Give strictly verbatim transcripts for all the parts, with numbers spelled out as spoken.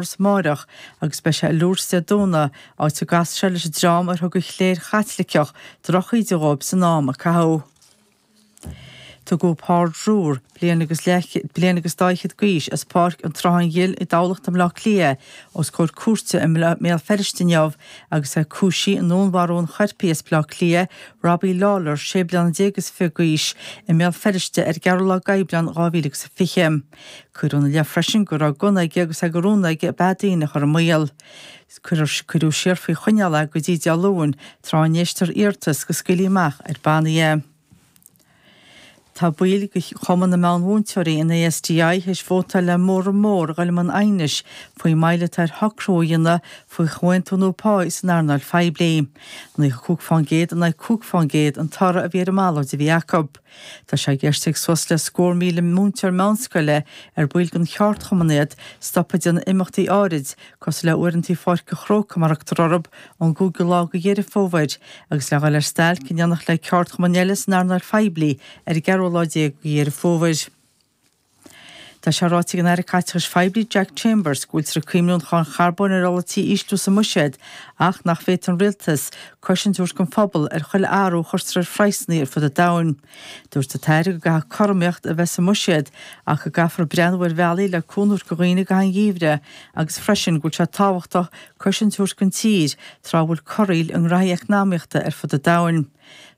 Amárach agus beidh sé i Lourdes Dé Domhnaigh, áit a gcasfaidh sé leis an dream ar thug an chléir Chaitliceach drochíde dhóibh san am a caitheadh. Tugadh Paul Drewer, bliain agus bliain agus dá fhichead d'aois, as Páirc an tSrutháin Ghil i dTamhlacht i mBleá Cliath, os comhair cúirte i mBéal Feirste inniu agus é cúisithe i ndúnmharú an choirpigh as Bleá Cliath, Robbie Lawlor, sé bliana déag is fiche d'aois, i mBéal Feirste ar an gceathrú lá d'Aibreán dhá mhíle agus a fiche. Cuireadh ina leith freisin go raibh gunna aige agus é de rún aige beatha daoine a chur i mbaol. Cuireadh siar faoi choinneáil é go dtí Dé Luain, tráth a n-éistfear iarratas go scaoilfí amach ar bannaí é. Tá baill de Chumann na Meánmhúinteoirí, an ASDI, théis vótáil le móramh mór a dhul i mbun aighnis faoin moill atá ar shocrú a dhéanamh faoi chomhaontú nua páí san earnáil phoiblí. Naocha cúig fán gcéad in aghaidh cúig fán gcéad an toradh a bhí ar an mballóid a bhí acu. Tá sé i gceist ag suas le scór míle múinteoir meánscoile ar baill den cheardchumann iad stopadh ag déanamh imeachtaí áirid cosúil le uaireanta Pháirc an Chrócaigh mar a thugtar orthu ón gcúigiú lá de Dheireadh Fómhair agus le dhul ar stailc in éineacht le ceardchumainn eile san earnáil phoiblí ar an gceathrú lá déag de Dheireadh Fómhair. Tá sé ráite ag an Aire Caiteachais Phoiblí Jack Chambers go bhfuiltear ag cuimhniú an cháin charbóin ar ola tí a ísliú sa mbuiséad ach nach bhféadfaidh an rialtas cosaint a thabhairt don phobal ar chuile athrú a chuirtear ar phraghsanna ar fud an domhain. Dúirt an tAire go gcaithfidh cothromaíocht a bheith sa mbuiséad ach go gcaithfear breathnú ar bhealaí le cúnamh a thabhairt do dhaoine i gcaitheamh an gheimhridh agus freisin go bhfuil sé tábhachtach cosaint a thabhairt don tír tráth a bhfuil corraíl i ngraithí eacnamaíochta ar fud an domhain.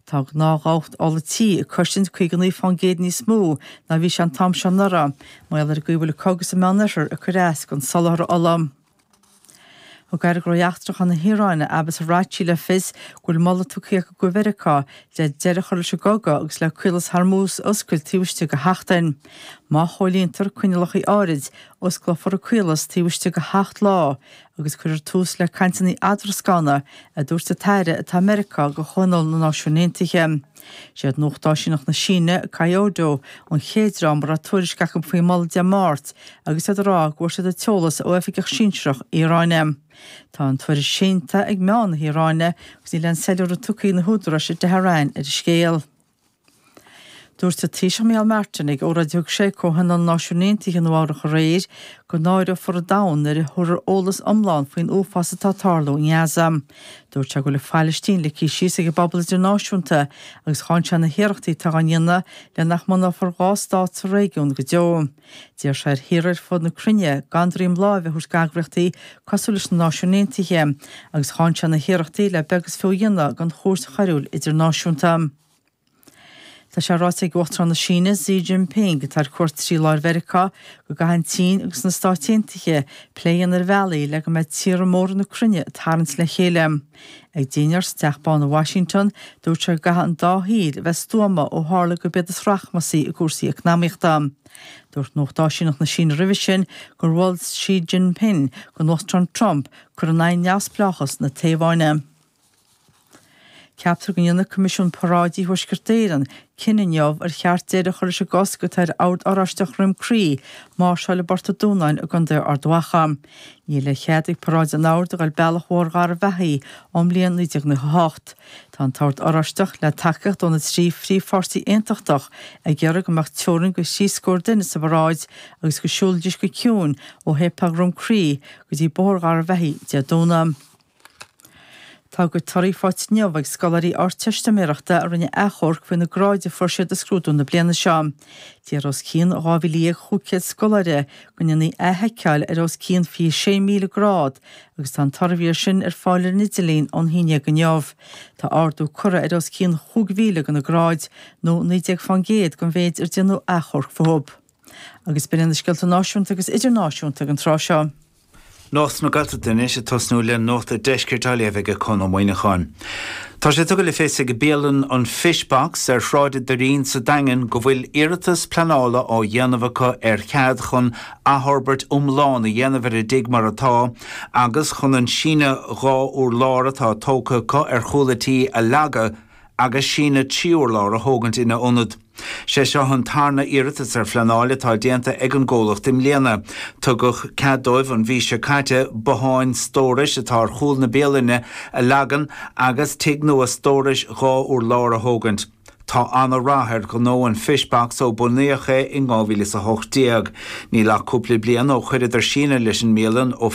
Tá gnáthdhabhach ola tí ag cosaint caoga naoi fán gcéad níos mó ná bhí sé an t-am seo anuraidh, mar gheall ar an gcaoi a bhfuil an cogadh sa Meánoirthear ag cur as don soláthar ola. Thug Aire Gnóthaí Eachtracha na hIaráine, Abbas Araghchi, le fios go bhfuil moladh tugtha acu go Mheiriceá le deireadh a chur leis an gcogadh agus le Caolas Hormuz a oscailt taobh istigh de sheachtain. Má chomhlíontar coinníollacha áirid, osclófar an caolas taobh istigh de sheacht lá agus cuirfear tús le cainteanna eadrascána, a dúirt an tAire atá i Meiriceá do Chomhthionól na Náisiún Aontaithe. Is iad Nuacht Áisíneach na Síne, Kyodo, an chéad dream a raibh tuairisc acu faoin moladh Dé Máirt agus iad ag rá go bhfuair siad an t-eolas ó oifigeach sinsearach Iaráine. Tá an tuairisc séanta ag meáin na hIaráine agus níl aon soiléiriú tugtha ag na húdaráis i dTehran ar an scéal. Dúirt an Taoiseach Micheál Martin ag óráid a thug sé ag Comhthionól na Náisiún Aontaithe i Nua-Eabhrac aréir go náireofar an domhan nuair a thabharfar eolas iomlán faoin uafás atá ag tarlú i nGaza. Dúirt sé go bhfuil an Phalaistín ligthe síos ag an bpobal idirnáisiúnta agus cháin sé na hiarrachtaí atá á ndéanamh le nach mbunófar dhá stát sa réigiún go deo. D'iarr sé ar thíortha ar fud na cruinne gan droim láimhe a thabhairt d'eagraíochtaí cosúil leis na Náisiúin Aontaithe agus cháin sé na hiarrachtaí le beag is fiú a dhéanamh den Chúirt Choiriúil Idirnáisiúnta. Tá sé ráite ag Uachtarán na Síne, Xi Jinping, atá ar cuairt trí lá ar Mheiriceá, go gcaithfidh an tSín agus na Stáit Aontaithe plé a dhéanamh ar bhealaí le go mbeidh tíortha móra na cruinne ag tarraingt le chéile. Ag dinnéar sa Teach Bán i Washington, dúirt sé go gcaithfidh an dá thír a bheith stuama ó tharla gurb iad is rachmasaí i gcúrsaí eacnamaíochta. Dúirt Nuacht Áisíneach na Síne roimhe sin gur mhol Xi Jinping don Uachtarán Trump cur in aghaidh neamhspleáchas na Téaváine. Ceaptar go ndéanfaidh Coimisiún Paráidí Thuaisceart Éireann cinneadh inniu ar cheart deireadh a chur leis an gcosc atá ar Ord Oráisteach Dhroim Crí máirseáil i bPort an Dúnáin i gContae Ard Mhacha. Níl aon chead ag paráid an Oird a dhul bealach Bhóthar Gharbhachaidh ón mbliain naoi déag nócha a hocht. Tá an tOrd Oráisteach, le tacaíocht ó na trí phríomhpháirtí aontachtach, ag iarraidh go mbeadh teorainn de thrí scór duine sa bparáid agus go siúlfaidís go ciúin ó Shéipéal Dhroim Crí go dtí Bóthar Gharbhachaidh Dé Domhnaigh. Tá a gcuid torthaí faighte inniu ag scoláirí Ardteistiméireachta a rinne achomharc faoi na gráid a fuair siad i scrúdú na bliana seo. D'iarr os cionn dhá mhíle dhéag chúig chéad scoláire go ndéanfaí athsheiceáil ar os cionn fiche sé míle grád agus tá an toradh air sin ar fáil ar an idirlíon ón haon déag inniu. Tá ardú curtha ar os cionn chúig mhíle de na gráid, nó naoi déag fán gcéad den mhéid ar déanadh achomharc fúthu. Agus b'in iad na scéalta náisiúnta agus idirnáisiúnta ag an tráth seo. Nuacht na Gaeltachta anois ag tosnú le Nuacht an Deiscirt á léamh ag Conn Ó Muíneacháin. Tá sé tugtha le fios ag bialann an Fish Box ar Shráid an Doirín sa Daingean go bhfuil iarratas pleanála á dhéanamh acu ar chead chun athfhorbairt iomlán a dhéanamh ar a dtigh mar atá agus chun an síneadh dhá urlár atá tógtha acu ar chúl a tí a leagadh agus síneadh trí urlár a thógaint ina ionad. Sé seo an tarna iarratas ar phleanáil atá déanta ag an gcomhlacht i mbliana. Tugadh cead dóibh an mhí seo caite botháin stórais atá ar chúl na bialainne a leagan agus tigh nua stórais dhá urlár a thógaint. Tá an-rath ar ghnó an Fishbox ó bunaíodh é in dhá mhíle is a hocht déag. Níl ach cúpla bliain ó chuireadar síneadh leis an mbialann ó